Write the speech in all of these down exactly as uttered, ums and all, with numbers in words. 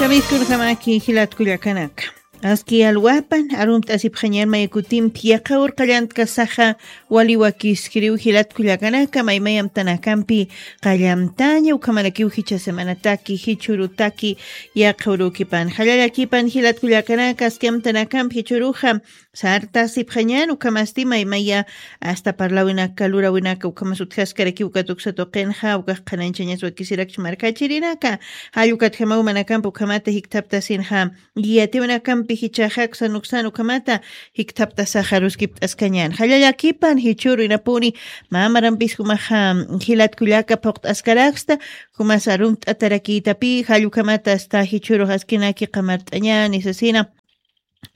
Kamiskunjamaki jilatkullakanaka. Aski alwapan arumt'asipxañan maykutimpi yaqha urqallantka saxa waliwakiskiriw jilatkullakanaka maymayamtanakampi qallamtaña ukhamarakiw jicha semanataki jichhurutaki yaqha urukipan jallallakipan jilatkullakanaka aski amtanakampi jichhuruxa sartasipxañan ukhamasti maymaya asta parlawinaka lurawinaka ukhamas utjaskarakiw ukat uksa tuqinxa ukax qhanañchañas wakisirakch markachirinaka jallukatjamaw manakampi ukhamata jikthaptasinxa yatiwinakampi jichaxa uksan uksan ukhamata jikthaptasaxa ruskipt'askañan jallallakipan jichhuru inapuni mä marampis jumaxa jilatkullaka phuqt'askaraksta jumas arumt'atarakïtapï jallukhamata asta jichhurux askinaki qamart'añani sasina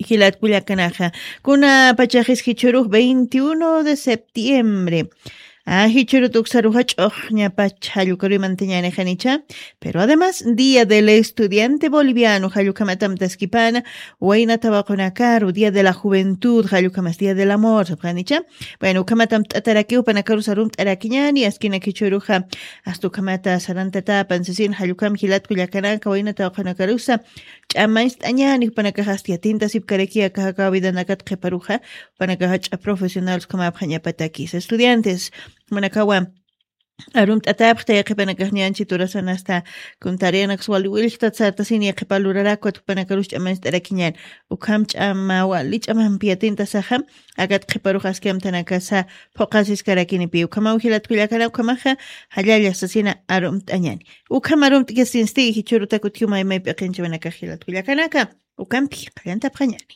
jilatkullakanaxa kuna pachaxis jichhurux veintiuno de septiembre a jichhurut uksaruxa ch'uxñapach jallukaruy mantañanixanicha pero además día del estudiante boliviano jallukamatam taskipana wayna tawaqunakaru día de la juventud jallukhamas día del amor sapxanicha bueno ukhamatam t'atarakiw panakarus arumt'arakiñani askinak jichhuruxa asta ukhamata sarantatapan sasin jallukham jilatkullakanaka wayna tawaqunakarusa ch'amañst'añani jupanakax asta yatintasipkaraki akax aka vidanakat qhiparuxa jupanakaxa ch'a profesionales ukhamäpxañapatakisa estudiantes jupanakawa arumt'atäpxta yaqhipanakax ñanchi turasan asta kun tareanaksa wali willktat sartasini yaqhipa lurarakwat jupanakarus ch'amañst'arakiñan ukham ch'ama wali ch'amampi yatintasaxa akat qhiparux aski amtanakasa phuqhasiskarakinipi ukhamaw jilatkullakana ukhamaxa jallalla sasina arumt'añani ukham arumt'kasinsti jichhurutak utjiw maymay p'iqinchawanakax jilatkullakanaka ukampi qallantapxañani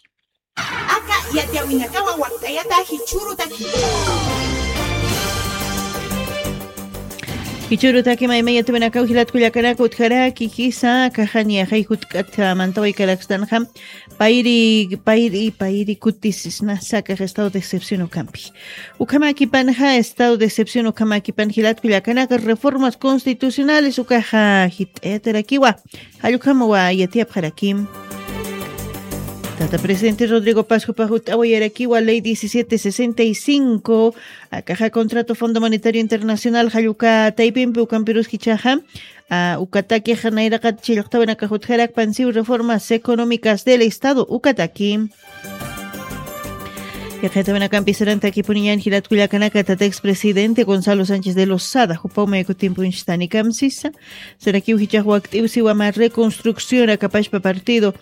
aka yatiyawinakawa wakt'ayata jichhurutaki jichhurutaki maymay yatiyawinakaw jilatkullakanaka utjaraki jisa akaxani axay jutk'at mantaway karakstanxa payri payri payri kutisisnasa akax estado de excepción ukampi ukhamakipanxa estado de excepción ukhamakipan jilatkullakanaka reformas constitucionales ukaxa jit'ayatarakiwa jallukamawa yatiyapxarakim tata presidente rodrigo pascupa jut'awayarakiwa ley diecisiete sesenta y cinco akaxa contrato fondo monetario internacional jalluka taypimpi ukampirus jichaxa ukatakixa nayraqat chillqtawinakax utjarakpan siw reformas económicas del estado ukataki yaqhitawinakampi sarantakipuniñan jilatkullakanaka tata expresidente gonzalo sánchez de losada jupaw maykutimpunchistanikamsisa sarakiw jichax wakt'iw siwama reconstrucción akapashpa partido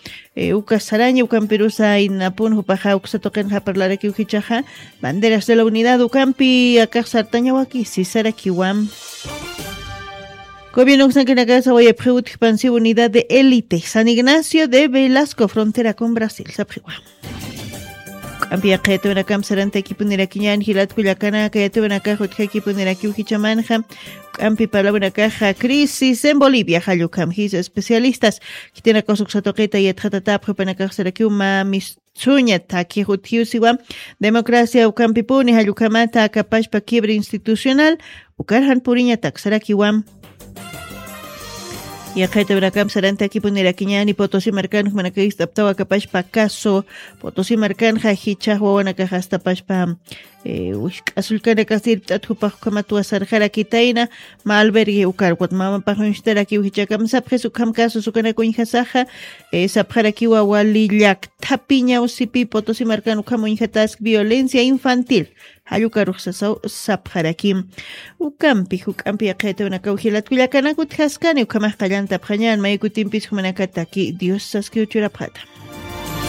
uka saraña ukampirusa inapun jupaxa uksa tuqinxa parlarakiw jichaxa banderas de la unidad ukampi akax sartañawaki sisarakiwa gobierno uksankinakasa wayapxiw utjpansiw unidad de élite san ignacio de velasco frontera con brasil sapxiwa k'ampi yaqhayatiwinakam sarantakipunirakiñan jilatkullakanaka yatiwinakax utjakipunirakiw jichamanxa k'ampi parlawinakaxa crisis en bolivia jallukam jisa especialistas khitinakax uksa tuqita yatxatatapxi jupanakax sarakiw mä mistsuña takix utjiwsiwa democracia ukampipuni jallukhamata akapashpa quiebre institucional ukarjan puriñatak sarakiwa yaqhaytawinakam sarantakipunirakiñani potosi markan jumanakax ist'aptaw akapashpa caso potosi markanxa jichax wawanakax astapashpa wishk'asullkanakasti irpt'at jupax ukhamatwa sarxarakitayna mä albergue ukar ukat mamapax uñstarakiw jichakam sapxis ukham casos ukanak uñjasaxa sapxarakiwa wali llakthapiñaw sipi potosi markan ukham uñjatask violencia infantil jallukarux sasaw sapxarakim ukampi juk'ampi yaqhaytawinakaw jilatkullakanak utjaskani ukhamax qallantapxañan maykutimpis jumanakataki dios saskiw churapxata